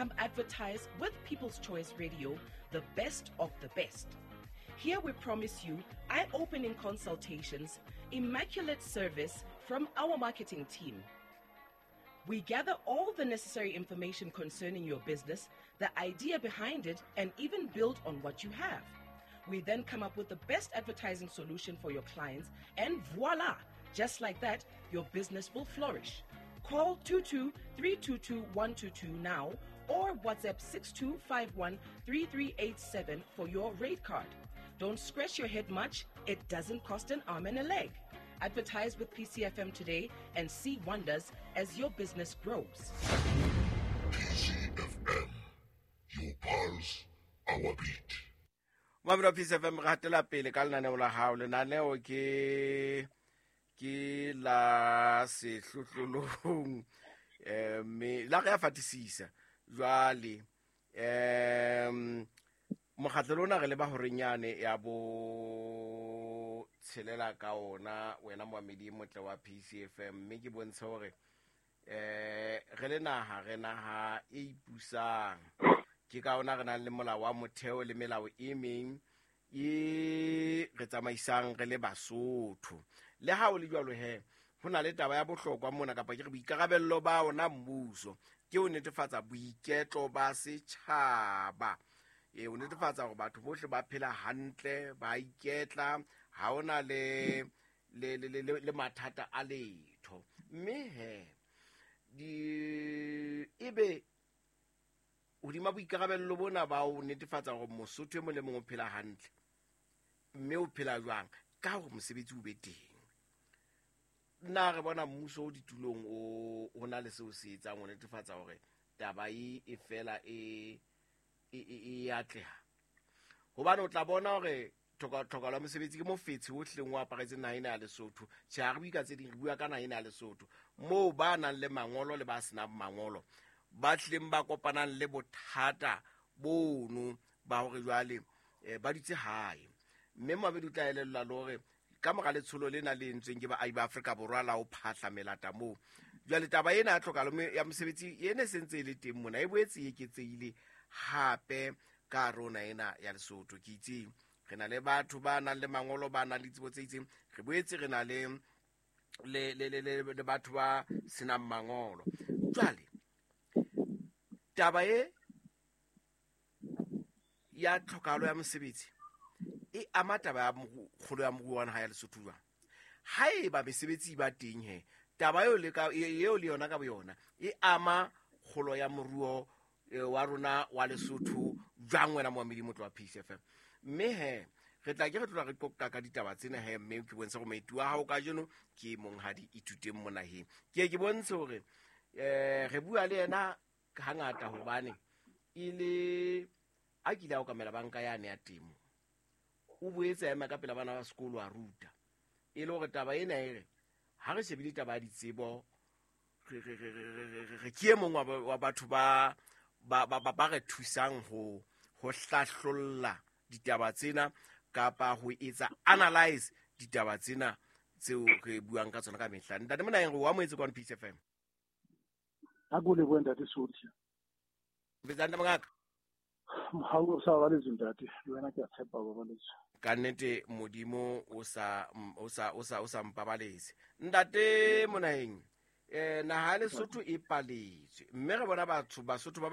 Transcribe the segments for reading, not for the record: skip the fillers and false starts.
Come advertise with People's Choice Radio, the best of the best. Here we promise you eye opening consultations, immaculate service from our marketing team. We gather all the necessary information concerning your business, the idea behind it, and even build on what you have. We then come up with the best advertising solution for your clients, and voila! Just like that, your business will flourish. Call 22 322 122 now or WhatsApp 6251 3387 for your rate card. Don't scratch your head much, it doesn't cost an arm and a leg. Advertise with PCFM today and see wonders as your business grows. PCFM, your pulse, our beat. Mamelo wa Peace FM, re hatela pele ka lenaneo la hao. Lenaneo ke ke la sehlohlolong mme la re ya fatisisa jwale mokgatlo lona re leba horenyane ya bo tshelela ka ona wena moamedi motle wa PCFM mme ke bontshe hore re le naha re naha e ipusang ke ka ona re nang le molao wa motheo le melao e meng e re tsamaisang re le Basotho. Le ha o le jwalo he, ho na le taba ya bohlokwa mona kapa ke re boikarabello ba ona mmuso ke ho netefatsa boiketlo ba setjhaba. Ho netefatsa hore batho bohle ba phela hantle, ba iketla, ha hona le le le le le mathata a letho. Mme he di ebe hodima boikarabello bona ba ho netefatsa hore Mosotho e mong le mong o phela hantle, mme o phela jwang ka hore mosebetsi o be teng. Nna re bona mmuso o ditulong o na le seo se etsang ho netefatsa hore taba e fela e e atleha. Hobane o tla bona hore tlhokahalo ya mosebetsi ke mofetshe o hleng o aparetseng naha ena ya Lesotho. Tjhe, ha re bue ka tse ding, re bua ka naha ena ya Lesotho moo ba nang le mangolo le ba senang mangolo ba tlileng ba kopanang le bothata bono ba hore jwale ba dutse hae. Mme Moabedi o tla elellwa le hore ka mora letsholo lena le entsweng ke baahi ba Afrika Borwa la ho phahla melata moo, jwale taba ena ya tlhokahalo ya mosebetsi e ne se ntse e le teng mona, e boetse e eketsehile hape ka rona ena ya Lesotho. Ke itseng re na le batho ba nang le mangolo, ba nang le tsebo tse itseng, re boetse re na le le le le le batho ba senang mangolo. Jwale taba e ya tlhokahalo ya mosebetsi e ama taba ya kgolo ya moruo wa naha ya Lesotho jwang? Haeba mesebetsi e ba teng he, taba eo le ka eo le yona ka boyona e ama kgolo ya moruo wa rona wa Lesotho jwang, wena moamedi motlo wa Peace FM? Mme he re tla ke re tlola re qoqa ka ditaba tsena he, mme ke bontshe gore moeti wa hao kajeno ke monghadi Ithuteng Monaheng. Ke ye ke bontshe hore re bua le yena hangata hobane e le a kile a okamela banka yane ya temo, o boetse a ema ka pela bana ba sekolo a ruta, e le hore taba ena e re ha re shebile taba ya ditsebo re ke e mong wa batho ba ba re thusang ho hlahlolla ditaba tsena kapa ho etsa analyze ditaba tsena tseo re buang ka tsona ka mehla. Ntate Monaheng, re o amohetse kwano Peace FM. Ha ke o lebohe ntate Sothi. Betsang mongaka. Ha o sa babaletswe ntate, le wena ke a tshepa o babaletswe. Ka nnete Modimo o sa o sa o sa o sa mpabaletse. Ntate Monaheng, naha ya Lesotho e paletswe mme re bona batho Basotho ba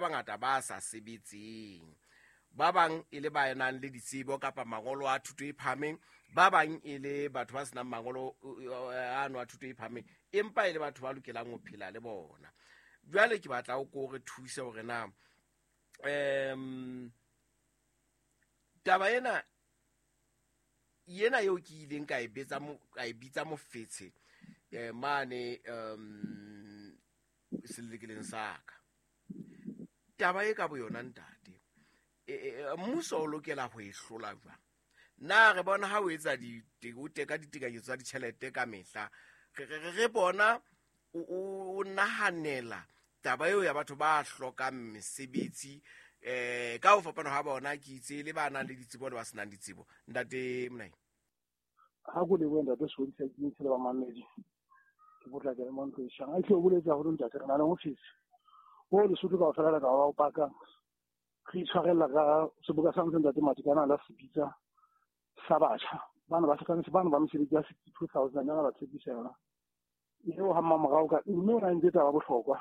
bangata ba sa sebetseng. Ba bang e le ba nang le ditsebo kapa mangolo a thuto e phahameng, ba bang e le batho ba senang mangolo ano a thuto e phahameng, empa e le batho ba lokelang ho phela le bona. Jwale ke batla o ko re thuse hore na taba ena eo ke ileng ka e betsa ka e bitsa mofetshe mane selelekeleng sa ka. Taba e ka boyona ntate, mmuso o lokela ho e hlola jwang? Na re bona ha o etsa o teka ditekanyetso tsa ditjhelete ka mehla, re bona o nahanela taba eo ya batho ba hlokang mesebetsi ka ho fapana ha bona, ke itse le ba nang le ditsebo le ba senang ditsebo. Ntate Monaheng. Ha ke o lebohe ntate Sothi, ke ntse le bamamedi. Ke potlakele mo ntlo e tjhang. A tle o boletse haholo ntate, re na le office Bo Lesotho kaofela le ka ba o paka. Re itshwarella ka seboka sa ntse Ntate Matekane a la se bitsa sa batjha. Bana ba hlokanetse bana ba mesebetsi ya 62,000 yana ba tshepisa yona. Eo ha mmamorao ka mme o na entse taba bohlokwa.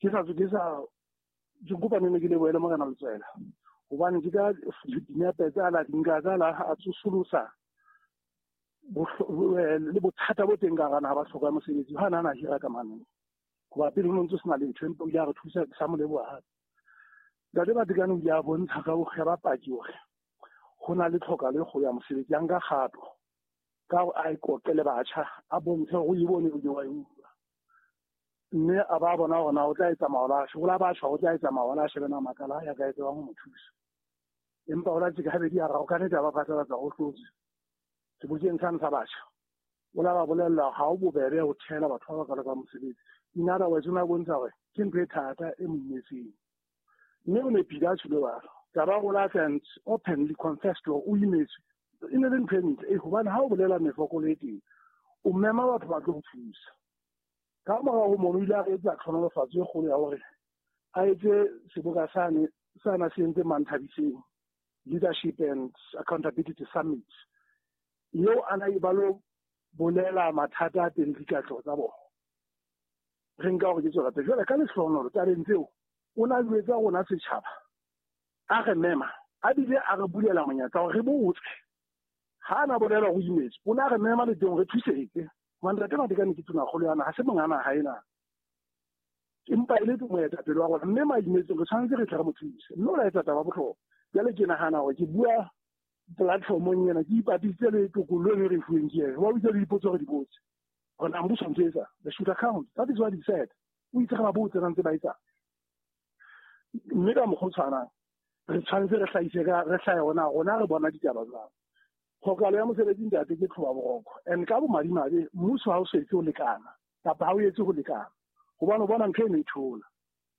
Ke sa ke kopa ne ke lebohele Morena Letsoela. Hobane ke ka dinepe tsa la dinka tsa la a tsosolosa le bothata bo teng ka hara naha ba hloka mosebetsi ha na hira ka mane. Hoba pele ho ntse sena letho empa o ile a re thusa sa mo leboha hape. Ntate Matekane o ile a bontsha ka ho kgeba paki hore ho na le tlhokahalo e kgolo ya mosebetsi, a nka kgato ka hore a iqoqe le batjha, a bontshe hore o e bone o ile wa e utlwa. Mme a ba bona hore na o tla etsa maola a o la batjha o tla etsa maola a shebe na makala a ya ka etsewang ho mo thusa. Empa o la tjeka habedi a raro ka nnete a ba phatlalatsa ho hlotse. Sebokeng sane sa batjha o la ba bolella ha o bobebe ho thehela batho ba bakalo ka mosebetsi. In other words, o ne a bontsha hore ke ntho e thata e mo imetseng. Mme o nepile a tjholo jwalo. Taba o la and openly confessed hore o imetswe. E ne le ntho e ntle hobane ha o bolela mefokolo e teng, o mema batho ba tlo o thusa. Ka morao ho mono o ile a re etsa tlhonolofatso e kgolo ya hore a etse seboka sane sana se entse Manthabiseng Leadership and Accountability Summit. Eo a na e ba lo bolela mathata a teng le dikatleho tsa bona. Re nka hore ke tswela pele. Jwale ka lehlohonolo tabeng tseo o na jwetsa rona setjhaba, a re mema, a bile a re bulela monyetla hore re botse. Ha na bolela ho imetswe, o na re mema le teng re thusetse. Hobane Ntate Matekane ke tonakgolo ya naha, ha se monga naha ena. Empa e le moetapele wa rona, mme maimetsong re tshwanetse re tle re mo thuse. Mme o la etsa taba bohlokwa. Jwale ke nahana hore ke bua platformong ena, ke ipapisitse le tokollo e re fuweng ke yena. Wa bitsa le dipotso re di botse. Hore na mmuso ntse etsa, they should account. That is what he said. O itse re ba botse na ntse ba etsa. Mme ka mokgwa o tshwanang, re tshwanetse re hlahise ka re hlahe hona rona re bona ditaba jwang. Tlhokahalo ya mosebetsi ntate ke tlhoba boroko. And ka bomadimabe mmuso ha o so etse ho lekana kapa ha o etse ho lekana. Hobane o bona ntho eno e thola.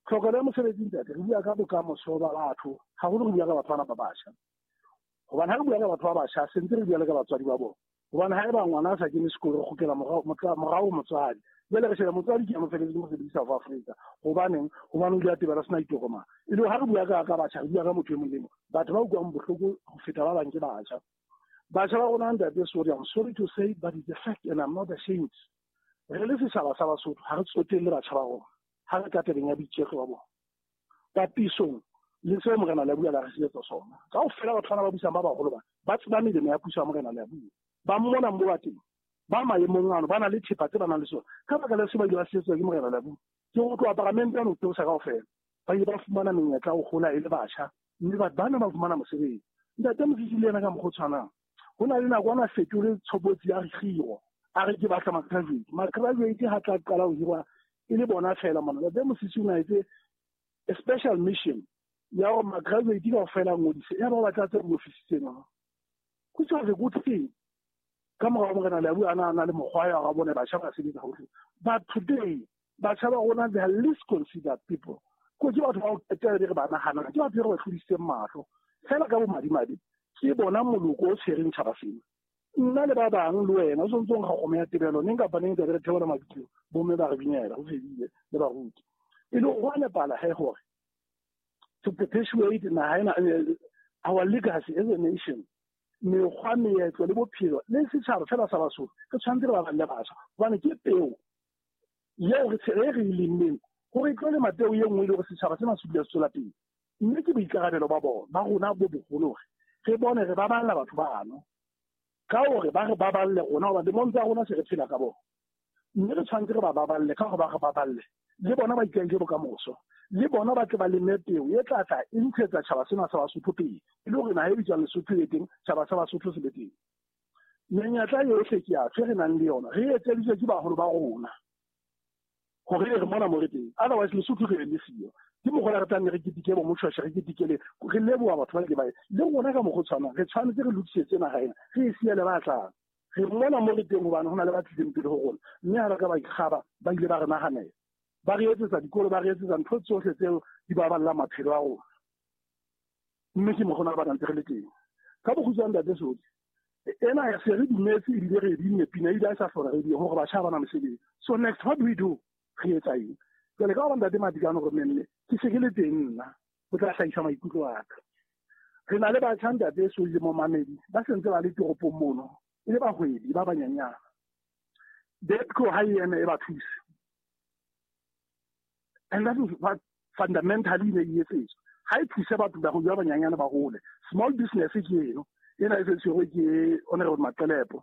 Tlhokahalo ya mosebetsi ntate re bua ka bokamoso ba batho, haholo re bua ka batho bana ba batjha. Hobane ha re bua ka batho ba batjha, se ntse re bua le ka batswadi ba bona. Hobane haeba ngwana a sa kene sekolo, re kgutlela morao motswadi. Jwale re sheba motswadi ke ya mosebetsi mosebetsi South Africa. Hobaneng? Hobane o ile a tebela sena ditokomane. E le ha re bua ka batjha, re bua ka motho e mong le mong. Batho ba utlwang bohloko ho feta ba bang ke batjha. Batjha ba rona ntate, sorry, I'm sorry to say, but it's a fact and I'm not ashamed. Re le setjhaba sa Basotho, ha re tsotelle batjha ba rona. Ha re ka tabeng ya boiketlo ba bona. Papisong le seo Morena Leabua la re sietsa sona. Kaofela batho bana ba busang ba baholo ba tseba melemo ya puso ya Morena Leabua. Ba mmona mo ba teng. Ba maemong ano, ba na le thepa tse ba nang le tsona. Ka baka la seo ba ile ba sietswa ke Morena Leabua. Ke ho tloha paramente ano theosa kaofela. Ba ile ba fumana menyetla ho hola e le batjha, mme batho bana ba fumana mosebetsi. Ntate Mosisi le yena ka mokgwa o tshwanang. Ho na le nako ana fetole tshobotsi ya kgiro. A re ke batla ma-graduate. Ma-graduate ha tla qala ho hirwa e le bona feela mona. Ntate Mosisi o na etse a special mission ya hore ma-graduate kaofela a ngodise. Ya ba batla tse diofisi tsena. Which was a good thing. Ka morao Morena Leabua a na le mokgwa ya hore a bone batjha ba sebetsa hohle. But today, batjha ba rona they are least considered people. Ko ke batho ba ho qetela re ba nahanang, ke batho re ba tlodisitseng mahlo. Feela ka bomadimabe, ke bona moloko o tshwereng tjhaba sena. Nna le ba bang le wena o sontso nkga kgomo ya tebelo neng kapa neng tla re theola mabitleng, bomme ba re binela ho fedile le baruti. E le ho nepala he hore to perpetuate naha ena, our legacy as a nation, mekgwa, meetlo le bophelo le setjhaba fela sa Basotho, re tshwanetse re baballe batjha hobane ke peo eo re re e lemmeng hore e tlo lema peo e nngwe e le hore setjhaba sena se dula se tswela pele. Mme ke boikarabelo ba bona ba rona bo boholo hore re bone re baballa batho bano ka hore ba re baballe rona, hoba lemong tsa rona se re phela ka bona. Mme re tshwanetse re ba baballe ka hore ba re baballe le bona ba ikaele bokamoso, le bona ba tle ba leme peo e tla tla e ntshetsa tjhaba sena sa Basotho pele, e le hore naha e bitswang Lesotho e teng, tjhaba sa Basotho se be teng. Menyetla yohle ke ya re nang le yona, re etseditswe ke baholo ba rona hore re mona mo re teng. Otherwise Lesotho re le siyo. Ke mokgwa re tla nne re keteke bo Moshweshwe, re keteke le re leboha batho ba ile ba le rona ka mokgwa o tshwanang. Re tshwanetse re lokisetse naha ena, re e siele ba tlang. Re mona mo re teng hobane ho na le ba tlileng pele ho rona, mme ha ba ka ba ikgaba, ba ile ba re nahanela, ba re etsetsa dikolo, ba re etsetsa ntho tsohle tseo di baballang maphelo a rona. Mme ke mokgwa ba ntse re le teng. Ka bokgutshwane Ntate Sodi, ena ya se re dumetse ebile re binne pina ebile a sa hlola re di hore batjha ba na mesebetsi. So next, what do we do? Re etsa eng? Jwale ka hore Ntate Matekane hore memme ke se ke le teng nna ho tla hlahisa maikutlo a ka. Re na le batjha Ntate so le momamedi ba sentse ba le toropong mono e le bahwebi ba banyenyana. DEDCO ha e eme e ba thuse. And that is what fundamentally ne e etsetswa. Ha e thuse batho ba ba banyenyana ba hole. Small business ke eno ena e se tshwerwe ke Honorable Maqelepo.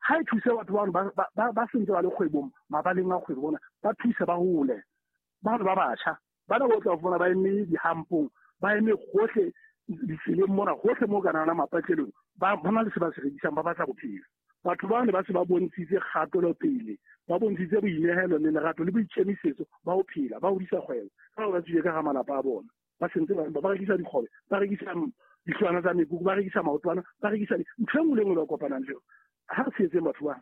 Ha e thuse batho ba sentse ba le kgwebong mabaleng a kgwebo bona ba thuse ba hole. Ba ba batjha bana bo tla fumana ba eme dihampong ba eme gohle ditseleng mona gohle mo kana na mapatlelong ba bona le se ba se rekisang ba batla bophelo. Batho ba ne ba se ba bontshitse kgatelopele, ba bontshitse boinehelo le lerato le boikemisetso ba ho phela, ba hodisa kgwebo ka ba tswile ka ga malapa a bona. Ba sentse ba rekisa dikgobe, ba rekisa dihlwana tsa mekuku, ba rekisa maotwana, ba rekisa ntho e nngwe le nngwe ba kopanang le yona. Ha re tshehetseng batho ba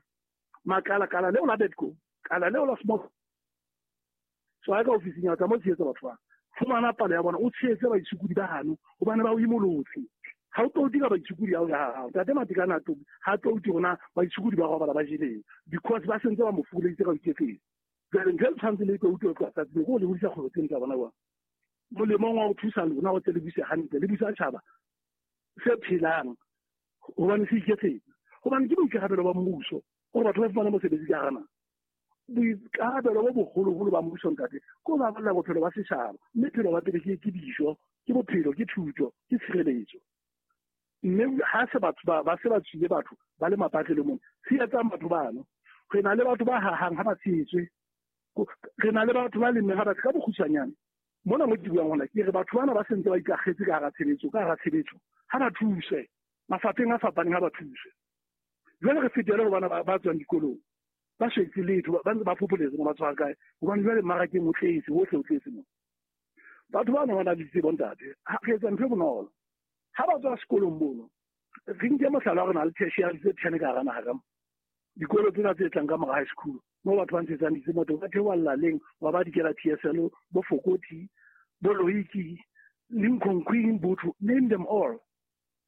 makala kala leo la DEDCO, kala leo la small so ha ka ofising ya tsa mo tshehetsa batho ba fumana palo ya bona, o tshehetse baitshokodi ba hano hobane ba o imolotse. Ha o touti ka baitshokodi ao ya hao. Ntate Matekane ha touti rona baitshokodi ba robala ba jeleng because ba sentse ba mo fokoleditse ka ho iketseng. Jwale ntho e tshwanetse le touti o tloha tsatsing ko le hodisa kgwebo tseno tsa bona jwang. Molemong wa ho thusa lona ho tle le buse hantle, le busa tjhaba se phelang hobane se iketsetsa. Hobane ke boikarabelo ba mmuso hore batho ba fumane mosebetsi ka hara naha. Boikarabelo bo boholoholo ba mmuso ntate ke ho baballa bophelo ba setjhaba, mme phelo ba pele ke dijo, ke bophelo, ke thuto, ke tshireletso. Mme ha se batho ba se ba tswile batho ba le mapatlelong mona, tshehetsang batho bano. Re na le batho ba hahang ha ba tshehetswe, re na le batho ba lemmeng ha ba ka bokgutshwanyane. Mona mo ke buang hona ke re batho bana ba sentse ba ikakgetse ka hara tshebetso, ka hara tshebetso ha ba thuswe mafapheng a fapaneng, ha ba thuswe. Jwale re fetele ho bana ba tswang dikolong ba shetse letho, ba ntse ba phopholetse mo ba tswang kae, hobane jwale mmarakeng o tletse, hohle o tletse mo. Batho bana ba na le ditsebo ntate, re etsa ntho e bonolo. Ha ba tswa sekolong mono, re nke mohlala wa re na le tertiary tse 10 ka hara naha ka mo. Dikolo tsena tse tlang ka mora high school, moo batho ba ntshetsang ditsebo teng, ba theoha Laleng, wa ba dikela TSL, bo Fokoti, bo Loiki, Lincoln Queen, Botho, name them all.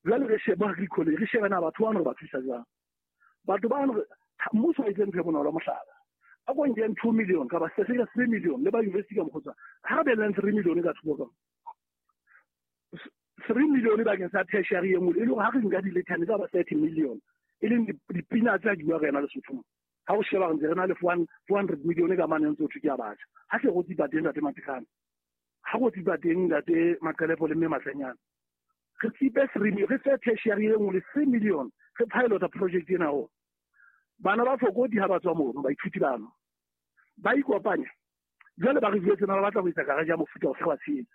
Jwale re shebe Agri College, re shebe na batho bano re ba thusa jwang. Batho bano mmuso o etse ntho e bonolo mohlala. A ko nkeng 2 million kapa se se ka 3 million le ba university ka mokgotsa. Ha re beleng 3 million ka thoko ka. 3 million bakeng sa tertiary e nngwe e le hore ha re nka di-lethane tsa ba 30 million e leng dipina tsa di bua re ena Lesotho. Ha o sheba re ntse re na le 400 million ka mane ntse o thwe ke ya batjha. Ha se go tsipa teng Ntate Matekane. Ha go tsipa teng Ntate Maqelepo le Mme Matlenyana. Re tsipe 3 million, re fe tertiary e nngwe le 3 million, re pilota project ena ho. Bana ba Fokoti ha ba tswa mono, baithuti bano ba ikopanya jwale ba re jwetse na ba batla ho etsa garage ya mofuta ofe wa tshehetse.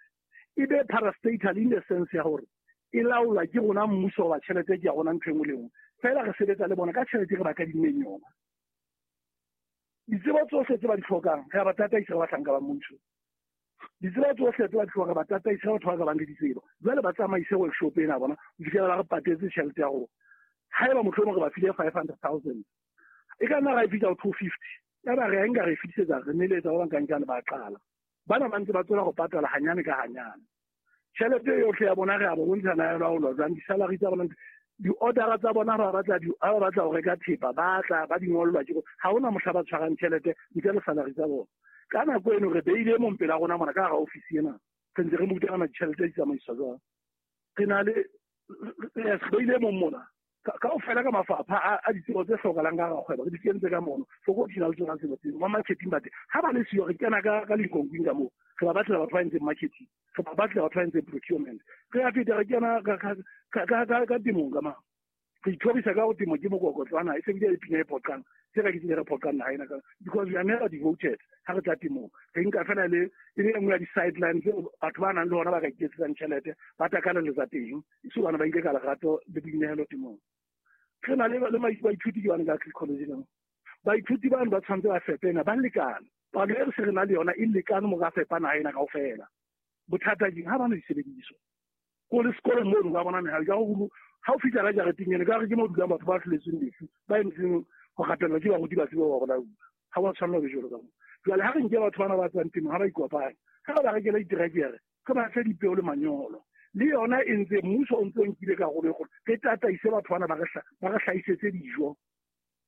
E be parastatal in the sense ya hore e laolwa ke rona mmuso wa tjhelete ke ya rona ntho e nngwe le nngwe. Feela re sebetsa le bona ka tjhelete re ba kadimmeng yona. Ditsebo tsohle tse ba di hlokang re a ba tataisa re bahlanka ba mmuso. Ditsebo tsohle tse ba di hlokang re ba tataisa batho ba ka bang le ditsebo. Jwale ba tsamaise workshop ena bona ho fihlela ba re patetse tjhelete ya rona. Haeba mohlomong re ba file 500,000 e ka nna ra e fihla ho 250 ya ba re a nka re fitisetsa re neletsa ba bankankane ba qala. Bana ba ntse ba tswela ho patala hanyane ka hanyane. Tjhelete yohle ya bona re a ba bontsha na ya laolwa jwang, di-salary tsa bona, di-ordera tsa bona ha ba batla ha ba batla ho reka thepa ba tla ba di ngollwa ke ha hona mohla ba tshwarang tjhelete ntle le salary tsa bona. Ka nako eno re beile mong pela rona mona ka hara ofisi ena, re ntse re mo rutana ditjhelete di tsamaiswa jwang. Re na le re beile mong mona kaofela ka mafapha a ditsebo tse hlokahalang ka hara kgwebo re di kentse ka mono. Fokoti na le tsona tsebo tseo ba marketing ba teng. Ha ba le siyo re kena ka Lincoln ka moo, re ba batlela batho ba entseng marketing, re ba batlela batho ba entseng procurement. Re a feta re kena ka temong ka mang. Re ithorisa ka ho temo ke mokokotlwana e se bile le pina e phoqang tse ka ke tsile re phoqang naha ena ka because we are never devoted ha re tla temong. Re nka fela le e le nngwe ya di-sideline tseo batho ba nang le hona ba ka iketsetsang tjhelete ba takaleletsa teng e se bana ba ile ka lerato le boinehelo temong. Re na le baithuti ke bane ka Agri College ka mo. Baithuti bano ba tshwanetse ba fepena ba lekane. Palo e re se re na le yona e lekane mo ka fepa naha ena kaofela. Bothata ke ha bana disebediswa. Ko le sekolong mono ba bona mehalo ka ho ha o fihla ka jareteng ena ka re ke mo dulang batho ba hloletsweng lefu ba emetseng ho rapellwa ke baruti ba tsebe ba bona. Ha wa tshwanela ho be jwalo ka moo. Jwale ha re nke batho bana ba tswang temong ha ba ikopanye, ha re ba rekele diterekere, re ba fe dipeo le manyolo. Le yona e ntse mmuso o ntse o nkile karolo e kgolo. Re tataise batho bana ba re hlahisetse dijo.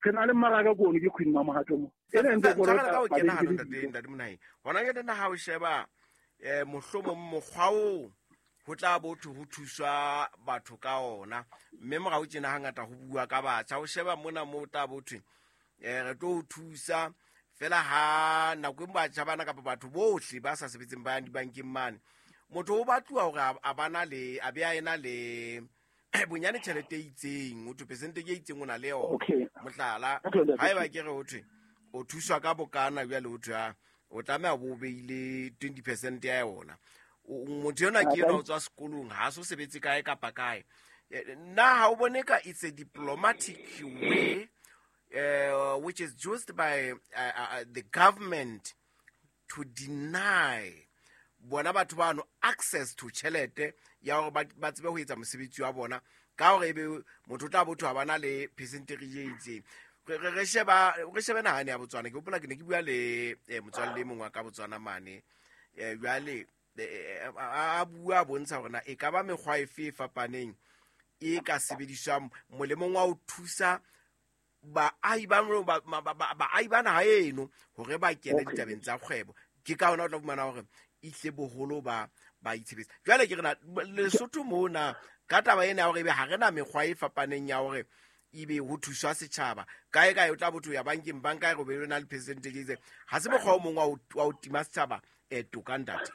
Re na le mmaraka ko ono ke Queen Mamohato mo. E ne ntse Tshwarela ka ho kena hanong ntate Monaheng. Hona jwale na ha o sheba mohlomong mokgwa oo ho tla bo thwe ho thuswa batho ka ona, mme morao tjena hangata ho bua ka batjha. O sheba mona moo tla bo thwe re tlo ho thusa fela ha nako e batjha bana kapa batho bohle ba sa sebetseng ba yang dibankeng mane, motho o batluwa hore a bana le a be a ena le bonyane tjhelete e itseng, ho thwe percentage e itseng o na le yona. Mohlala, haeba ke re ho thwe o thuswa ka bokana jwale, ho thwe o tlameha bo beile 20% ya yona. Motho enwa ke enwa o tswa sekolong, ha so sebetse kae kapa kae. Nna ha o bone ka it's a diplomatic way which is used by the government to deny bona batho bano access to tjhelete ya hore ba tsebe ho etsa mosebetsi wa bona, ka hore ebe motho o tla botho ha bana le percentage e itseng. Re shebe nahane ya Botswana. Ke hopola ke ne ke bua le motswalle e mongwe wa ka Botswana mane, jwale a bua a bontsha hore na e ka ba mekgwa efe e fapaneng e ka sebediswang molemong wa ho thusa baahi ba naha eno hore ba kene ditabeng tsa kgwebo. Ke ka hona o tla fumana hore ihle boholo ba itshebetsa. Jwale ke re na Lesotho mona ka taba ena ya hore ebe ha re na mekgwa e fapaneng ya hore ebe ho thuswa setjhaba kae kae, o tla botho ya bankeng, banka e re be na le percentage e itseng. Ha se mokgwa o mong wa ho tima setjhaba toka ntate.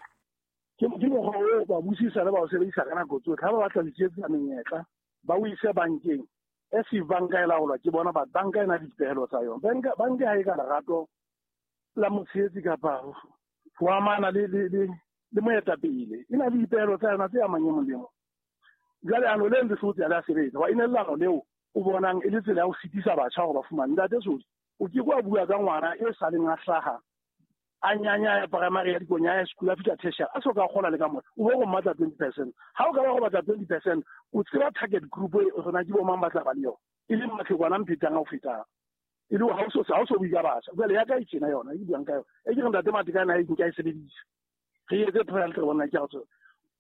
Ke mokgwa oo ba busisa le ba o sebedisa ka nako tsotlhe. Ha ba batla ho iketsetsa menyetla, ba o ise bankeng. E se banka e laolwa ke bona, ba banka e na le dipehelo tsa yona. Banka ha e ka lerato la motshehetsi kapa ho amana le moetapele, e na le dipehelo tsa yona tse amang e mong le mong. Jwale ano le ntse sotse ya sebetsa, wa ine lano leo o bonang e le tsela ya ho sitisa batjha hore ba fumane. Ntate Sodi, o ke kwa bua ka ngwana e saleng a hlaha a nyanya ya primary ya dikonya ya school a fihla tertiary a so ka kgola le ka mona, o bo go mmatla 20%. Ha o ka ba go batla 20%, o tseba target group e rona ke bo mang ba tla ba le yona, e leng matlhekwana a mphetang a o fetang, e le ha o so bue ka batjha. Jwale ya ka e tjena yona e ke buang ka yona, e ke re ntate Matekane a e nka e sebedisa, re etse trial re bona ke a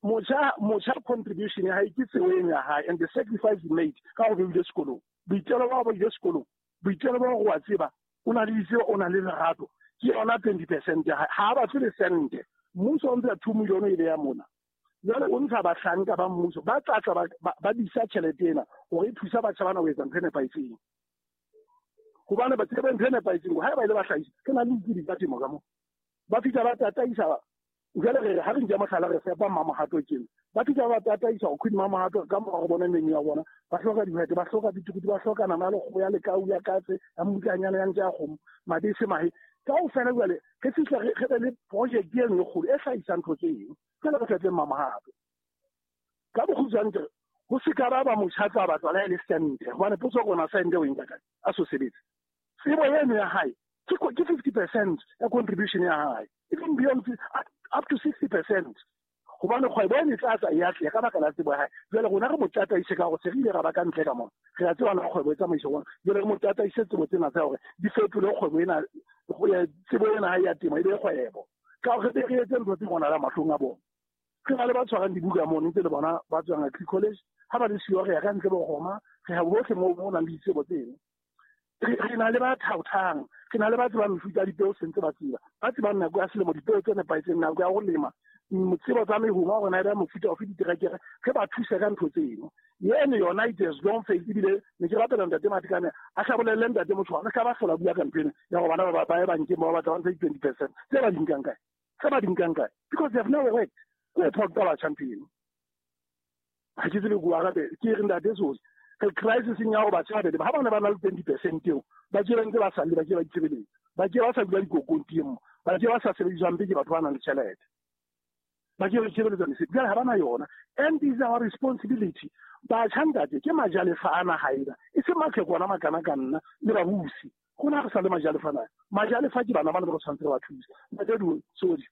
motjha contribution ya hae ke tsebo eno ya hae and the sacrifice he made ka ho be ile sekolong, boitelo ba ho ile sekolong, boitelo ba ho wa tseba, o na le ditsebo, o na le lerato, ke yona 20% ya hae. Ha ba batle le sente. Mmuso o ntsha 2 million e beya mona. Jwale o ntsha bahlanka ba mmuso ba tla tla ba disa tjhelete ena hore e thusa batjha bana ho etsa ntho e nepahetseng. Hobane ba tsebe ntho e nepahetseng, ha ba ile ba hlahisa, ke na le ditsebi tsa temo ka mo. Ba fihla ba tataisa. Jwale re ha re nka mohlala re fepa Mamohato tjena. Ba fihla ba tataisa ho Queen Mamohato ka mora go bona menu ya bona. Ba hloka dihwete, ba hloka ditukutu, ba hloka nama ya lekgowa, ya lekau, ya katse, ya mmutlanyana, ya ntja ya kgomo, mabese, mahe. Kaofela jwale re fihla re be le project e nngwe kgolo e hlahisang ntho tse eng. Jwale re fetse Mamohato. Ka bokgutshwane ke re ho se ka ba ba motjha tla batla le le sente, hobane potso rona sente o e nka kae a so sebetse. Tsebo eno ya hae ke 50% ya contribution ya hae, even beyond up to 60%. Hobane kgwebo e tla tla ya ka baka la tsebo ya hae. Jwale rona re mo tataise ka hore se re ile ra ba ka ntle ka mona, re a tseba na kgwebo e tsamaiswa jwang. Jwale re mo tataise tsebo tsena tsa hore di fetole kgwebo ena, tsebo ena ha ya temo e be kgwebo, ka hore re etse ntho tse bonahalang mahlong a bona. Re na le ba tshwarang dibuka mono ntse le bona ba tswang Agri College, ha ba le siyo re ya ka ntle bo roma, re ya bohle moo mo nang le ditsebo tseno. Re na le ba thaothang, re na le ba tsebang mefuta ya dipeo sentse ba tseba, ba tsebang nako ya selemo, dipeo tse nepahetseng, nako ya ho lema, tsebo tsa mehoma hore na e ba mofuta ofe diterekere, re ba thuse ka ntho tseno. Eno yona it has long failed. Ebile ne ke rapela ntate Matekane a hlabolelle ntate Motho, re ka ba hlola bua ka ntho ena ya hore bana ba ye bankeng ba batla ba ntsha di-20% tse ba di nkang kae, tse ba di nkang kae, because they have never worked. Ke ho phoqa batjha ntho eno. Ha ke tsebe ko arabe, ke re ntate Sodi, re crisiseng ya hore batjha ba be ha bana ba na le 20% eo, ba ke ba ntse ba salle, ba ke ba itshebeletsa, ba ke ba sa dula dikokong teng, ba ke ba sa sebediswang ke batho ba nang le tjhelete, ba ke ba itshebeletsa mesebetsi. Jwale ha ba na yona, and is our responsibility. Batjha ntate ke majalefa a naha ena, e se matlhekwana makana ka nna le babusi. Rona re sa le majalefa na, majalefa ke bana ba ne ba re tshwanetse re ba thuse. Ntate Sodi,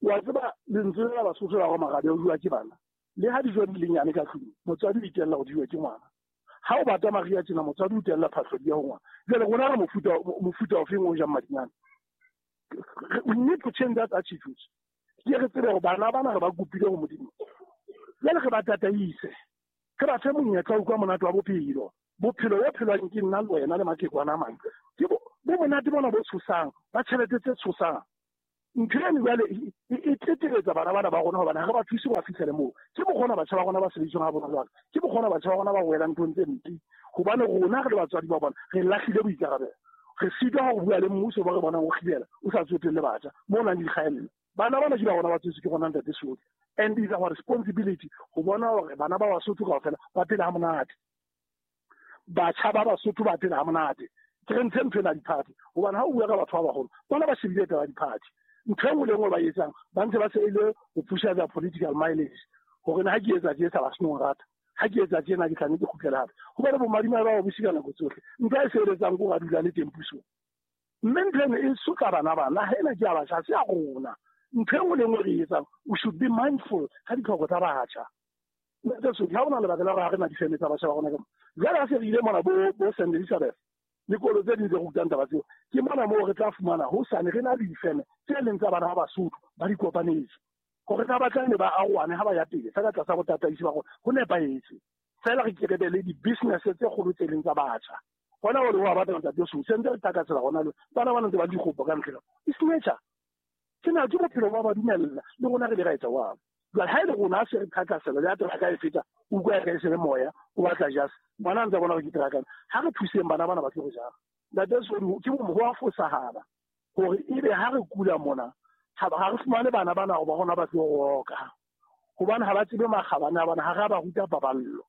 wa tseba lentswe la Basotho la hore marabe o jowa ke bana, le ha dijo di le nyane ka tlung, motswadi o itella go diwe ke ngwana. Ha o bata maria tjena, motswadi o itella phahlo di ya ho ngwana. Jwale rona re mofuta ofeng o jang madinyane? We need to change that attitude. Ke re tsebe hore bana bana re ba kopile ho Modimo. Jwale re ba tataise, re ba fe monyetla wa utlwa monate wa bophelo. Bophelo bo phelwang ke nna le wena le mathekwana a mang ke bo monate bona bo tshosang, ba tjhelete tse tshosang. Ntho eno jwale e tleteletsa bana bana ba rona hobane ha re ba thuse ba fihlele moo. Ke bokgona batjha ba rona ba sebediswang ha bonolo jwalo. Ke bokgona batjha ba rona ba welang nthong tse mpe. Hobane rona re le batswadi ba bona re lahlile boikarabelo. Re sitwa ho bua le mmuso ba re bonang o kgibela o sa tsotelle batjha mo nang le dikgaello. Bana bana ke ba rona ba tswetswe ke rona ntate Sodi. And it's our responsibility ho bona hore bana ba Basotho kaofela ba phela ha monate. Batjha ba Basotho ba phela ha monate. Ke re ntshe ntho ena diphathi hobane ha o bua ka batho ba baholo bona ba shebile taba ya diphathi. Ntho e nngwe le nngwe ba etsang ba ntse ba se ile ho pusha their political mileage hore na ha ke etsa tje sa ba seno rata, ha ke etsa tjena ke tla ne ke kgutlele hape. Hobane bomadimabe ba ba busi ka nako tsohle. Ntho e sebeletsang ke hore a dula le teng pusong. Mme ntho eno e sotla bana bana. Naha ena ke ya batjha, ha se ya rona. Ntho e nngwe le nngwe re e etsang, we should be mindful ka ditlhoko tsa batjha. Ntate Sodi, ha hona lebaka la hore ha re na difeme tsa batjha ba rona ka mo. Jwale ha se re ile mona bo Saint Elizabeth le kolo tse ding tse rutang taba tseo, ke mona moo re tla fumana hosane re na le difeme tse leng tsa bana ba Basotho ba di kopanetse. Hore na ba tla ne ba arohane ha ba ya pele, feela tlasa botataisi ba rona, ho nepahetse. Feela re ke re be le di-business tse kgolo tse leng tsa batjha. Hona hore wa batla ntate Sodi, se ntse re thakasela hona le bana ba ntse ba dikgopo ka ntle. It's nature. Ke na ke bophelo ba ba dumella le rona re le ra etsa jwalo. Jwale ha e le rona se re thakasela le ha teraka e feta, o utlwa e re e se le moya, o batla jase. Ngwana a ntse a bona hore ke teraka. Ha re thuseng bana bana ba tlo re jara. Ntate Sodi, ke bo ho a fosahala hore ebe ha re kula mona, ha re fumane bana bana hore ba rona ba tlo roka. Hobane ha ba tsebe makgabane a bona, ha re a ba ruta paballo.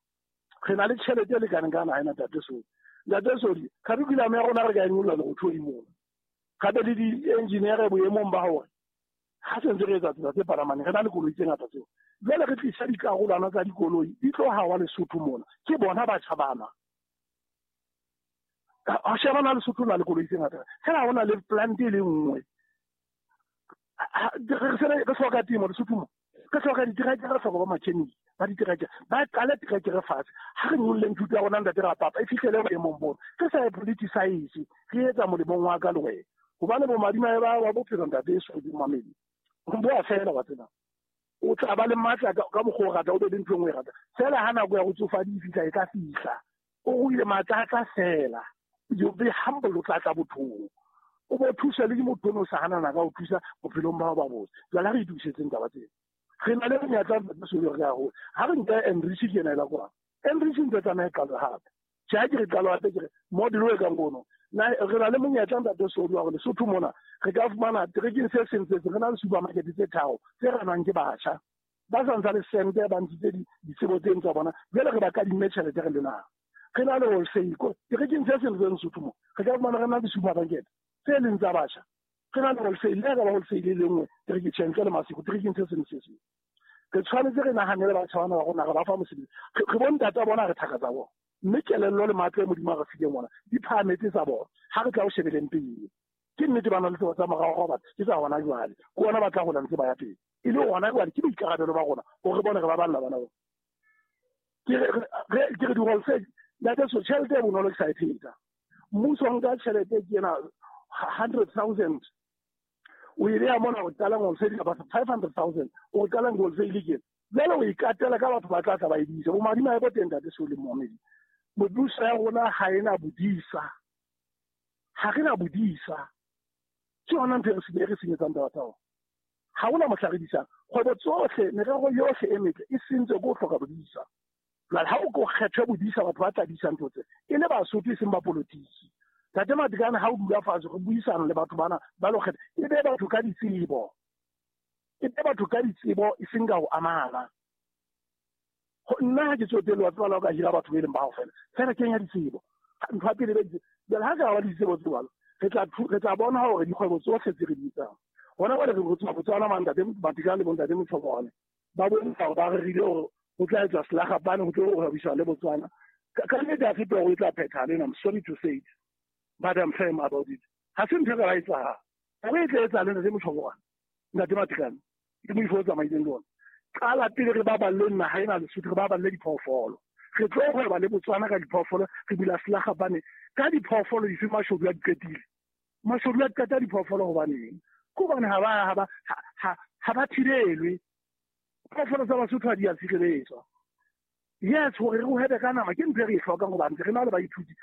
Re na le tjhelete e lekaneng ka naha ena, Ntate Sodi. Ntate Sodi, curriculum ya rona re ka e nyolla lerothodi mona. Gape le di-engineer boemong ba hore ha se ntse re etsa tsela tse palamaneng, re na le koloi tse ngata tseo. Jwale re tlisa dikarolwana tsa dikoloi, di tlo hawa Lesotho mona. Ke bona batjha bana. Ha sheba na Lesotho na le koloi tse ngata. Fela ha hona le plant e le nngwe. Re hloka temo Lesotho mo. Re hloka diterekere, re hloka ba mechanic ba diterekere. Ba qale terekere fatshe. Ha re nyolleng thuto ya rona ntate Rapapa, e fihlele boemong bona. Re sa e politicize, re etsa molemong wa ka le wena. Hobane bomadimabe ba bophelo ntate e Sodi Mamedi. Bo a fela wa tseba. O tla ba le matla ka mokgwa o rata, o be le ntho e nngwe e rata. Fela ha nako ya ho tsofadi e fihla, e tla fihla. O ruile matla a tla fela. You be humble, o tla tla bothong. O bo thusa le ke motho ono o sa hanana ka ho thusa bophelong ba hao ba botse. Jwale ha re itokisetseng taba tsena. Re na le menyetla ntate Sodi re ya hole. Ha re nka Enrich ke ena e la kwano. Enrich ntse tsamaya e qala hape. Tjhe, ha ke re qalo hape ke re model o e kang ono. Na re na le monyetla ntate Sodi wa hore Lesotho mona re ka fumana terekeng se seng se seng, re na le supermarket tse tharo tse ranwang ke batjha. Ba sa ntsa le sente, ba ntshitse ditsebo tseno tsa bona. Jwale re ba kadimme tjhelete re le naha. Re na le wholesale ko terekeng se seng se Lesotho mo. Re ka fumana re na le supermarket tse leng tsa batjha. Re na le wholesale, le ha ka ba wholesale e le nngwe terekeng tjhe, ntle le Maseko, terekeng se seng se seng. Re tshwanetse re nahanele batjha bana ba rona, re ba fa mosebetsi. Re bontata bona, re thaka tsa bona. Mme kelello le matla e Modimo a re fileng ona di phahametse tsa bona. Ha re tla ho shebeleng pele. Ke nnete ba na le tsebo tsa morao hore batho ke tsa hona jwale. Ke ona ba tla hola ntse ba ya pele. E le hona jwale ke boikarabelo ba rona hore re bone re baballa bana bona. Ke re di-wholesale, ntate so tjhelete e bonolo ke sa e pheta. Mmuso o nka tjhelete ke ena 100,000. O e beha mona o qalang wholesale kapa 500,000. O qalang wholesale ke ena. Jwale o ikatela ka batho ba tla tla ba e disa. Bomadimabe bo teng ntate Sodi Mohamedi. Mebuso ya rona ha ena bodisa. Ha re na bodisa. Ke yona ntho e re senyetsang taba tsa rona. Ha hona mohla re disang. Kgwebo tsohle, merero yohle e metle e sentswe ke ho hloka bodisa. Jwale ha o ko kgethwe bodisa, batho ba tla disa ntho tse. E le Basotho e seng ba politiki. Ntate Matekane, ha o dula fatshe re buisana le batho bana ba lo kgetha, e be batho ka ditsebo. E be batho ka ditsebo e seng ka ho amana. Nna ha ke tsotelle wa tseba la o ka hira batho be leng ba hao fela. Fela kenya ditsebo. Ntho ya pele be ditsebo. Jwale ha ka ba ditsebo tse jwalo, re tla bona hore dikgwebo tsohle tse re di etsang. Hona jwale re tswa Botswana mang ntate Matekane le bontate Motshobane. Ba bontsha hore ba rerile hore ho tla etswa selagapane, ho tlo hwebisana le Botswana. Ka nnete ha se toro e tla phethahala ena, I'm sorry to say it, but I'm firm about it. Ha se ntho e ka ba etsahala. Taba e tla etsahala ntate Motshobane, ntate Matekane, ke moifo o tsamaileng le ona. Qala pele re baballe naha ena Lesotho, re baballe diphoofolo. Re tlo hweba le Botswana ka diphoofolo, re bula selagapane ka diphoofolo dife mashodu a di qetile. Mashodu a qeta diphoofolo hobaneng? Ke hobane ha ba thibelwe. Phoofolo tsa Basotho ha di a tshireletswa. Yes, hore re hwebe ka nama ke ntho e re e hlokang hobane re na le baithuti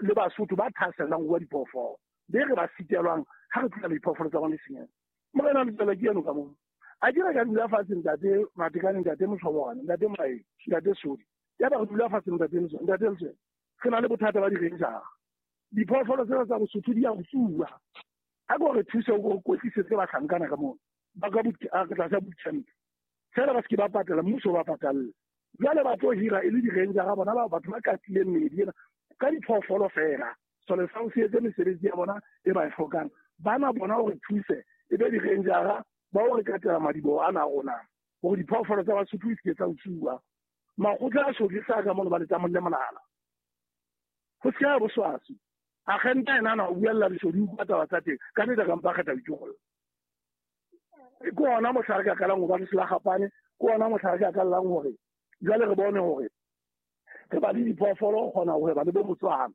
le Basotho ba thahasellang ho rua diphoofolo. Be re ba sitelwang ha re tlohela diphoofolo tsa bona di senyeha. Morena Letswele ke eno ka moo. A ke re ka dula fatshe ntate Matekane, ntate Motlhobogane, ntate Moraeng, ntate Sodi. Yaba re dula fatshe ntate Letswele, ntate Letswele. Re na le bothata ba di-ranger. Diphoofolo tsena tsa Bosotho di a utsuwa. A ko re thuse o re kwetlisetse bahlankana ka moo. Ba ka tlasa boot camp. Feela ba se ke ba patala, mmuso o ba patalle. Jwale ba tlo hira e le di-ranger bona ba batho ba katileng meedi ena ka diphoofolo feela. Sole sa ho se etse mesebetsi ya bona e ba e hlokang. Bana bona hore thuse e be di-rangera ba o re katela madiboho ana a rona hore diphoofolo tsa Basotho di se ke tsa utsuwa. Makgotla a shodisa ka mono ba le tsamolle molala. Ho se ya boswaswi. Agente ena ana o buella leshodu o utlwa taba tsa teng. Ka nnete ka mpa kgetha ho itšolla. Ke hona mohla re ka qalang ho ba le selagapane, ke hona mohla re ka qalang hore jwale re bone hore re ba le diphoofolo ho kgona ho hweba le bo Botswana.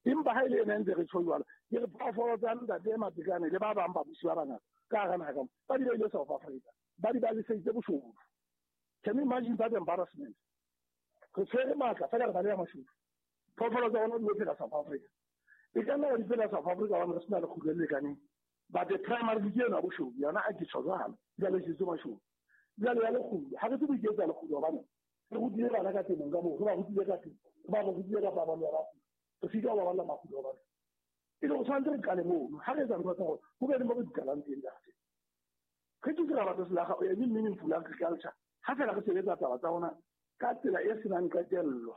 Empa ha e le ena ntse re tjho jwalo, ke re phoofolo tsa ntate Matekane le ba bang babusi ba bangata ka hara naha ka mo, ba di beile South Africa, ba di baleseditse boshodu. Can you imagine that embarrassment? Re tshwere matla fela re baleha mashodu. Phoofolo tsa rona di lo phela South Africa. E ka nna di phela South Africa hobane re sena lekgutlo le lekaneng. But the primary ke ena boshodu, yona a ke tjho jwalo. Jwale ke mashodu. Jwale ya lekgutlo, ha re tsebe ho iketsa lekgutlo hobane re rutile bana ka temong ka moo, re ba rutile ka temo, re ba rutile ka paballo ya batho. Re sitwa ho baballa makgulo a batho. E le go tshwanetse re qale mono. Ha re etsa ntho tsa rona, ho be le mo re di qalang teng ntate. Re ke ra batla selaga o eme meaningful agriculture. Ha fela re sebetsa taba tsa rona ka tsela e senang qetello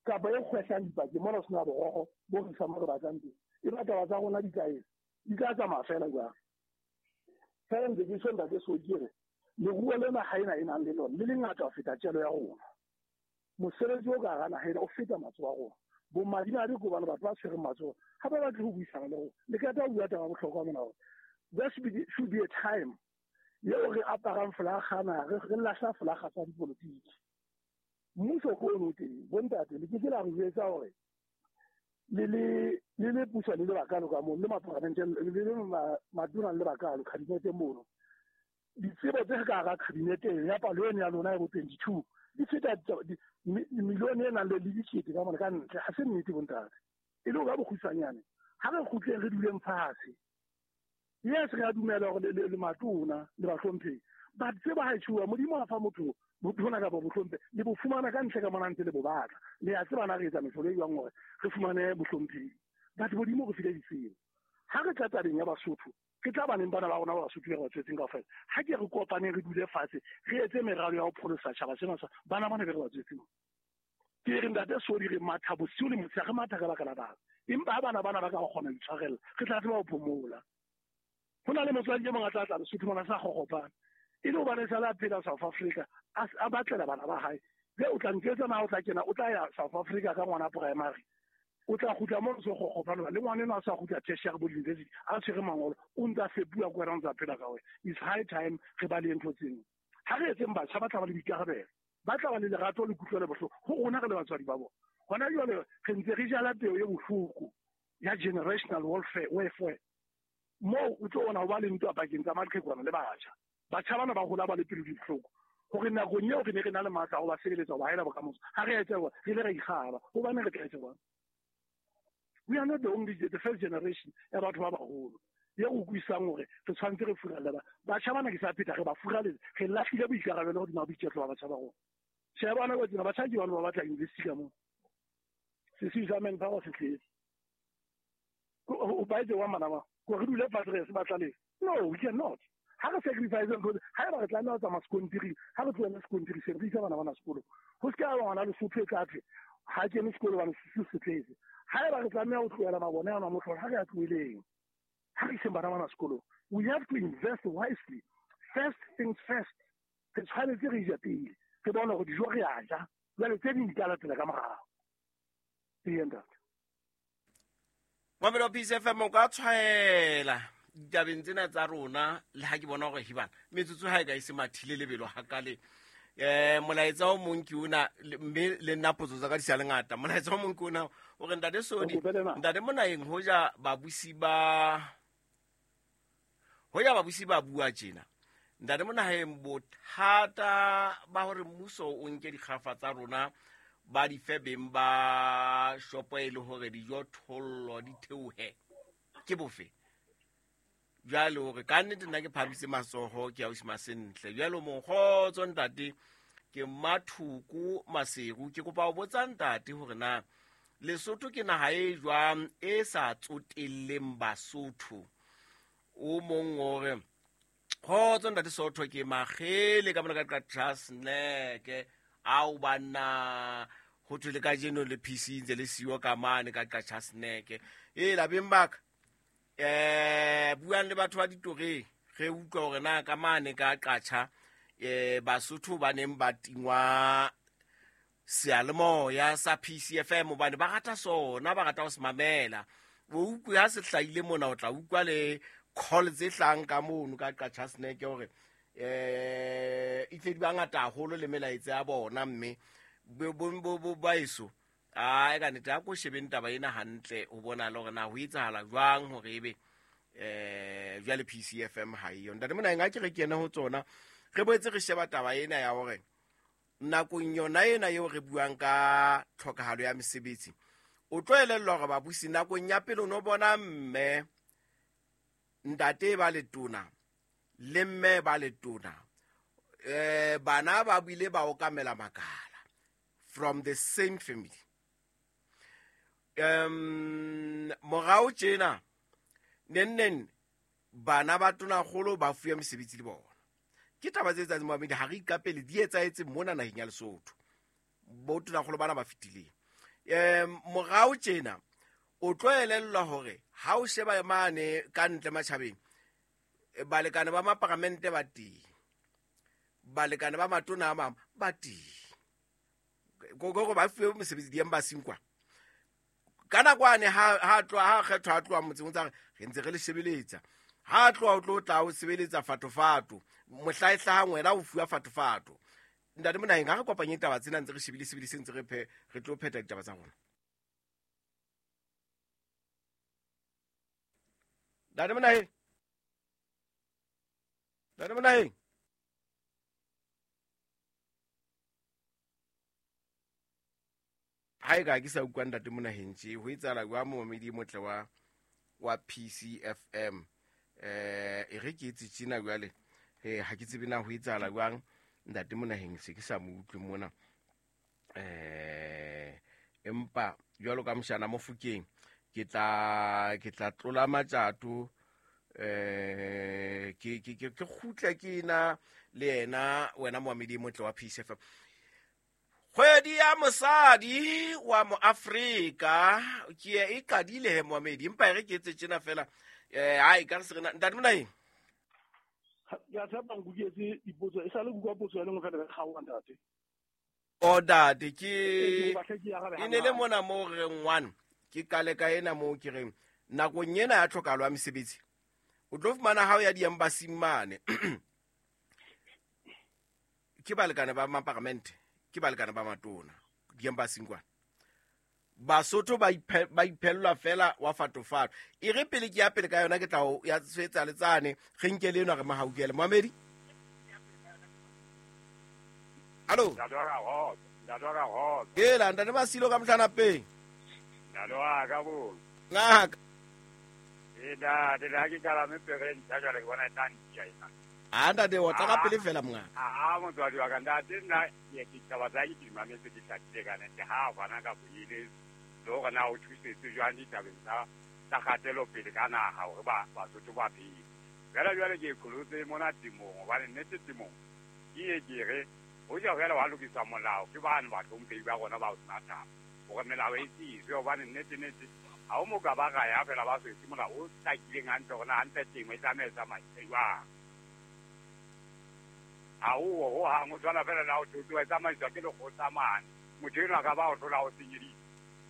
kapa e kgwehlang dipakeng mona ho sena borokgo bo re isang mo re batlang teng. E ba taba tsa rona di tla etsa, di tla tsamaya fela jwang. Fela ntse ke tjho ntate so ke re leruo lena ha ena e nang le lona le lengata ho feta tjelo ya rona. Mosebetsi o ka hara naha ena o feta matsoho a rona. Bomadimabe ke hobane batho ba tshwereng matsoho ha ba batle ho buisana le rona. Le qeta ho bua taba ya bohlokwa mona hore there should be a time eo re aparang folaga na re lahla folaga tsa dipolotiki. Mmuso ke ono teng, bontate le ke ke la re jwetsa hore le le puso le le bakalo ka mono, le maporamente le le matona le bakalo kabinete mono. Ditsebo tse ka hara kabinete ya palo eno ya lona ya bo 22 di feta milione e nang le dikete ka mona ka ntle. Ha se nnete bontate. E le ho ka bokgutshwanyane ha re kgutleng re duleng fatshe. Yes, re a dumela hore le matona le bahlomphehi, but tsebo ha e tjhuwa Modimo a fa motho botona kapa bohlomphehi le bo fumana ka ntle ka mona ntse le bo batla. Le a tseba na re etsa mehlolo e jwang hore re fumane bohlomphehi, but Modimo re file ditsebo. Ha re tla tabeng ya Basotho, ke tla baneng bana ba rona ba Basotho ba re tswetseng kaofela. Ha ke re kopaneng re dule fatshe re etse meralo ya ho pholosa tjhaba sena sa bana bana be re ba tswetseng. Ke re ntate Sodi re matha bosiu le motshehare, re matha ka baka la bana. Empa ha bana bana ba ka kgona ho itshwarella, re tla tseba ho phomola. Ho na le motswadi e mong a tla tla Lesotho mona sa kgokgopana. E le hobane sale a phela South Africa, a batlela bana ba hae. Be o tla ntjwetsa na o tla kena, o tla ya South Africa ka ngwana primary. O tla kgutla mo so kgokgopana le ngwana eno a sa kgutla tertiary bo university, a tshwere mangolo, o ntsa fepuwa ke wena o ntsa phela ka wena. It's high time re ba le ntho tseno. Ha re etseng batjha ba tla ba le boikarabelo, ba tla ba le lerato le kutlwelo bohloko ho rona re le batswadi ba bona. Hona jwale re ntse re jala peo e bohloko ya generational welfare. Moo o tlo bona ho ba le ntwa pakeng tsa maqhekwana le batjha. Batjha bana ba hola ba le pelo di bohloko hore nakong eo re ne re na le matla a ho ba sebeletsa ho ba haela bokamoso. Ha re etsa re ile ra ikgaba hobane re tla etsa jwang. We are not the only the first generation ya batho ba baholo ye go utlwisang hore re tshwanetse re furalle ba. Batjha bana ke sa pheta re ba furaletse, re lahlile boikarabelo hodima boiketlo ba batjha ba rona. Tjhe bana ba tsena batjha ke bana ba batla university ka moo. Sesiu sa manpower se tletse. O ba etse wa mana ba. Ko re dule fatshe re se batla le. No, we cannot. Ha re sacrifice ntho, ha eba re tlameha ho tsamaya sekontiring, ha re tlohele sekontiri se re isa bana bana sekolong. Ho se ka ba ngwana Lesotho e tla thwe ha kene sekolo hobane sesiu se tletse. Ha eba re tlameha ho tlohela mabone ana mohlolo, ha re a tloheleng. Ha re iseng bana bana sekolong. We have to invest wisely. First things first. Re tshwanetse re je pele. Re bone hore dijo re a ja. Jwale tse ding di tla latela ka morao. Ee, ntate. Mamelo Peace FM o ka tshwaela ditabeng tsena tsa rona le ha ke bona hore hibana metsotso ha e ka e se mathile lebelo hakale. Molaetsa o mong ke ona mme le nna potso tsa ka di sa le ngata. Molaetsa o mong ke ona o re ntate Sodi, ntate Monaeng, hoja babusi ba bua tjena Ntate Monaheng, bothata ba hore mmuso o nke dikgafa tsa rona ba di fe beng ba shopo e le hore dijo thollo di theohe ke bofe? Jwale hore ka nnete nna ke phamise matsoho ke ausi Masentle. Jwale mokgotso ntate, ke Mathuku Maseru, ke kopa ho botsa ntate hore na Lesotho ke naha e jwang e sa tsotelleng Basotho. O mong hore kgotso ntate Sotho, ke Makgele ka mona ka Qachasneke. Ao banna, ho thwe le kajeno le PC ntse le siyo ka mane ka Qachasneke. E labeng baka buang le batho ba ditoreng, re utlwa hore na ka mane ka Qacha Basotho ba neng ba tingwa seyalemoya sa PCFM hobane ba rata sona, ba rata ho se mamela. O utlwe ha se hlahile mona, o tla utlwa le call tse hlang ka mono ka Qachasneke hore e tle di bangata haholo le melaetsa ya bona, mme bo baeso a ka nnete a ko shebeng taba ena hantle ho bona le hore na ho etsahala jwang hore ebe jwale PCFM ha eyo. Ntate Monaheng, ha ke re ke ene ho tsona, re boetse re sheba taba ena ya hore nakong yona ena eo re buang ka tlhokahalo ya mesebetsi, o tlo elellwa hore babusi nakong ya pele o no bona mme ntate ba letona le mme ba letona, bana ba bile ba okamela makala from the same family. Morao tjena neng bana ba tonakgolo ba fuwe mesebetsi le bona. Ke taba tse etsahetseng momamedi, ha re iqapele, di etsahetse mona naheng ya Lesotho, bo tonakgolo bana ba fetileng. Morao tjena o tlo elellwa hore ha o sheba mane ka ntle matjhabeng, balekane ba maparamente ba teng, balekane ba matona a mang ba teng, kore ba fuwe mosebetsi di-embassy kwa. Ka nako ane ha tloha, ha kgethwa, ha tloha motseng, o tsa re ntse re le shebeletsa, ha tloha o tlo tla o sebeletsa fatofato, mohla e hlahang wena o fuwa fatofato. Ntate Monaheng, ha re kopanye taba tsena ntse re shebile sebile se ntse re re tlo phetha ditaba tsa rona. Ntate Monaheng, ntate Monaheng, ha e ka ke sa utlwa ntate Monaheng tje, ho etsahala jwang? Momamedi motle wa PCFM, e re ke etse tjena jwale, ha ke tsebe na ho etsahala jwang. Ntate Monaheng se ke sa mo utlwe mona, empa jwalo ka moshana Mofokeng, ke tla tlola matjato, ke kgutle ke na le yena. Wena momamedi motle wa PCFM, kgwedi ya mosadi wa mo Afrika ke e qadile he momamedi, empa e re ke etse tjena fela, hai ka re se rena. Ntate Monaheng, ke a tshepa nkutlwetse dipotso e sale kutlwa potso ya lengwe fela re kgaoga ntate. O ntate, ke e ne le mona moo re reng one ke kale ka ena moo ke reng nakong ena ya tlhokahalo ya mesebetsi, o tlo fumana ha o ya di-embassy mane ke balekane ba maparamente, ke balekane ba matona di-embassy kwana, Basotho ba iphellwa fela wa fatofato. E re pele ke ya pele ka yona, ke tla ya tshwetsa le tsane, re nke le enwa re mahaukele. Moamedi, hallo. Ela ntate Masilo ka mohlanapeng. Ntate wa ka bo. Ngaka. E ntate, le ha ke kalame pere ntjha jwale, ke bona e tla ntia ena. A ntate, o tla ka pele fela monga. A motswadi wa ka ntate, nna ke ditaba tsa ke di mametse, di hlakile ka nete. Ha bana ka boile le hore na o thusetse jwang ditabeng tsa kgatelopele ka naha hore ba Basotho ba phele. Jwale jwale ke qholotse mona temong, hobane nnete temong ke ye ke re hoja fela wa lokisa molao ke bane bahlomphehi ba rona ba ho sena taba hore melao e tiiswe, hobane nnete nnete ha o mo ka ba raya fela ba so etse molao o hlakileng hantle hore na hantle temo e tlameha e tsamaise jwang. Ha o ho hang o tshwana fela le ha o thotho e tsamaiswa ke lekgotla mane, motho enwa ka ba o hlola o senyeditse.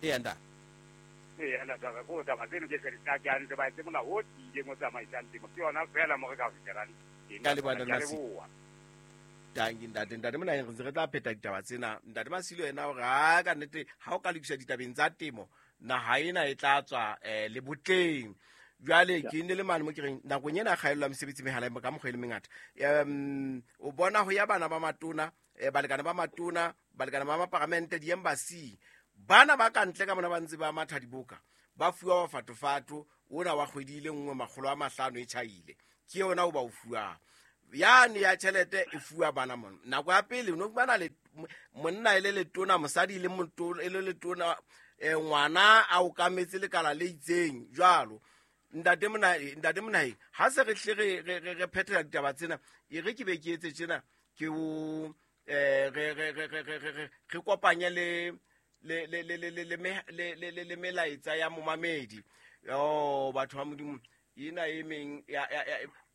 Eya ntate. Eya ntate, ko taba tseno ke tle di hlake hantle, ba etse molao o tiileng o tsamaisang temo, ke yona fela mo re ka fihlelang teng. Ka leboha, ntate Ke a Masilo. leboha. Tanki ntate, ntate Monaheng, re ntse re tla pheta ditaba tsena. Ntate Masilo yena hore ha ka nnete ha o ka lokisa ditabeng tsa temo, naha ena e tla tswa le botleng. Jwale ke ne le mane mo ke reng nakong ena kgaello ya mesebetsi mehala ka mokgwa e le mengata. O bona ho ya bana ba matona, balekane ba matona, balekane ba maparamente, di-embassy, bana ba ka ntle ka mona ba ntse ba matha diboka, ba fuwa mafatofato, ona wa kgwedi e le nngwe 500 e tjhaile, ke yona o ba o fuwang. Yane ya tjhelete e fuwa bana mona. Nako ya pele no bana le monna e le letona, mosadi le motona e le letona, ngwana a o kametse lekala le itseng jwalo. Ntate Monaheng, ha se re hle re phethela ditaba tsena, e re ke be ke etse tjena, ke o re kopanye le le melaetsa ya momamedi. Oh, batho ba Modimo, ena e meng ya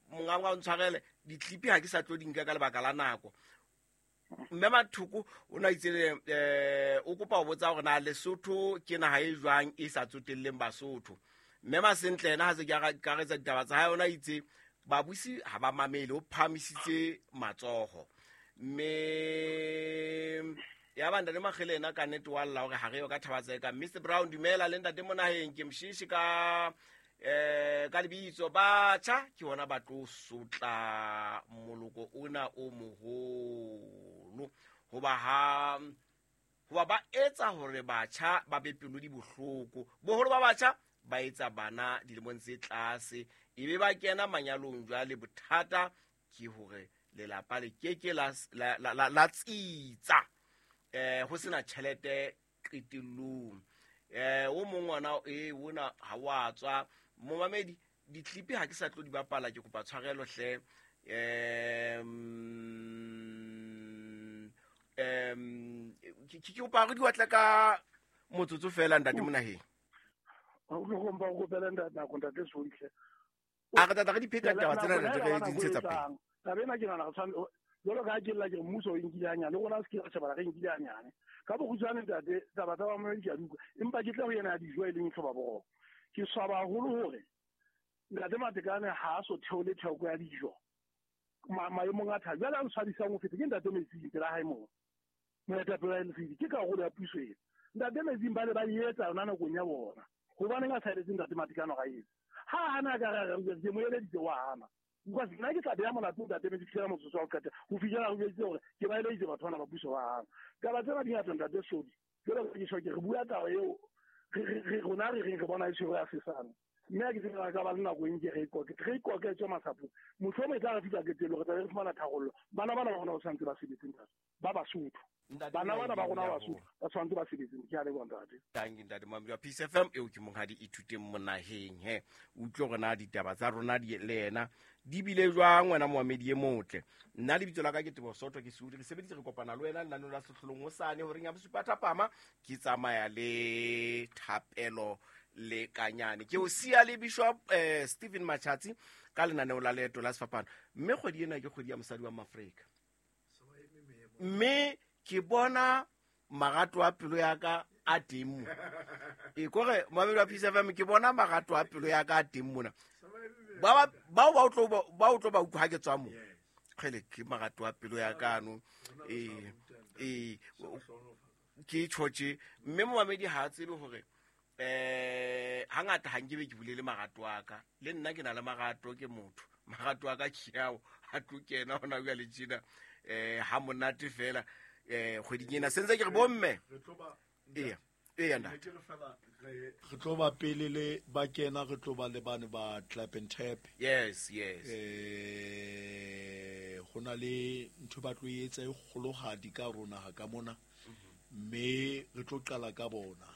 monga wa ntshwarele ditlipi ha ke sa tlo di nka ka lebaka la nako. Mme Mathoko o na itse o kopa ho botsa hore na Lesotho ke naha e jwang e sa tsotelleng Basotho. Mme Masentle yena ha se ke akaretsa ditaba tsa hae, o na itse babusi ha ba mamele, o phahamisitse matsoho. Mme ya ba ntate Makgele yena ka nnete wa lla hore ha re yo ka thaba tseka. Mr Brown, dumela le ntate Monaheng, ke mshishi ka ka lebitso. Batjha ke hona ba tlo sotla moloko ona o moholo, hoba ba etsa hore batjha ba be pelo di bohloko. Boholo ba batjha ba etsa bana dilemong tse tlase, ebe ba kena manyalong. Jwale bothata ke hore lelapa le keke la tsitsa, ho sena tjhelete qetellong. O mong ngwana ona ha wa tswa. Momamedi, ditlipi ha ke sa tlo di bapala, ke kopa tshwarelo hle. Ke kopa re di watle ka motsotso fela ntate Monaheng. O ba o kopela ntate ntate Soihle. A re tata re di pheta ditaba tsena ntate re di ntshetsa pele. Taba ena ke nahana re tshwanetse jwalo ka ha ke lla ke re mmuso o nkile hanyane, le rona se ke ra shebana re nkile hanyane. Ka bokgutshwane ntate, taba tsa bamamedi ke a di utlwa, empa ke tla ho yena ya dijo e leng hloba boroko. Ke swaba haholo hore ntate Matekane ha a so theole theko ya dijo maemong a thata. Jwale a ntshwabisang ho feta ke ntate Metsing pela hae moo, moetapele wa LCD, ke karolo ya puso ena. Ntate Metsing ba ne ba e etsa yona nakong ya bona. Hobaneng a sa eletse ntate Matekane hore a etse? Ha hana ka re re ke mo eleditse wa hana. Because nna ke tla beha molato ntate Metsi fihlela motsotso wa ho qetela, ho fihlela re jweditse hore ke ba eleditse batho bana ba puso ba hana. Taba tsena di ngata ntate Sodi. Jwale ke tjho ke re bua taba eo re rona re reng re bona e tshwere ya sesane. Mme ha ke tsebe re ka ba le nako e nke re ikoke tswe masapong. Mohlomong e tla re fihla qetellong, re tla be re fumana tharollo. Bana bana ba rona ba tshwanetse ba sebetse ntate, ba Basotho. Bana bana ba rona ba Basotho ba tshwanetse ba sebetse. Ke a leboha ntate. Thank you ntate Mamedi wa Peace FM. Eo ke monghadi Ithuteng Monaheng. He utlwe hore na ditaba tsa rona di le yena di bile jwang wena moamedi e motle. Nna lebitso la ka ke Teboho Soto, ke Seudi. Re sebeditse re kopana le wena lenaneo la Sehlohlolong hosane horeng ya bosupa thapama. Ke tsamaya le Thapelo le Kanyane. Ke o siya le Bishop Stephen Machatsi ka lenaneo la Leeto la Sefapano. Mme kgwedi ena ke kgwedi ya mosadi wa Maafrika. Mme ke bona marato a pelo ya ka a teng mo. E kore moamedi wa Peace FM, ke bona marato a pelo ya ka a teng mona. Ba o tlo ba utlwa ha ke tswa mo. Kgele ke marato a pelo ya ka no. Ke tjhotje. Mme moamedi ha a tsebe hore hangata ha nkebe ke bulele marato a ka. Le nna ke na le marato, ke motho. Marato a ka ke ao a tlo kena hona jwale tjena. Ha monate fela kgweding ena. Sentse ke re bomme. Eya ntate. Re tlo ba pele le ba kena, re tlo ba le bane ba clap and tap. Yes, yes. Ho na le ntho ba tlo etsa e kgolohadi ka rona ha ka mona. Mme re tlo qala ka bona.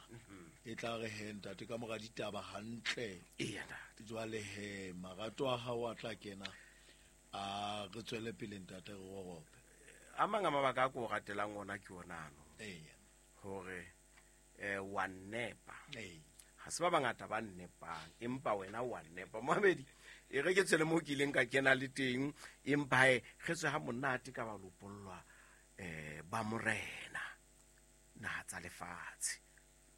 E tla re he ntate ka mora ditaba hantle. Eya ntate. Jwale he marato a hao a tla kena, a re tswele pele ntate re rorope. A mang a mabaka a ko ratelang ona ke ona ano. Eya. Hore wa nepa. Ha se ba bangata ba nepang, empa wena wa nepa. Mohamedi, e re ke tswele mo ke ileng ka kena le teng, empa he re tswe ha monate ka ba lopollwa ba morena naha tsa lefatshe.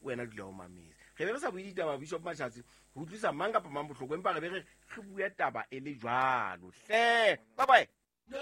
Wena dula o mametse. Re be re sa bue ditaba Bishop Machatsi ho utlwisa mang kapa mang bohloko, empa re be re bue taba e le jwalo. Hle, bye bye. No.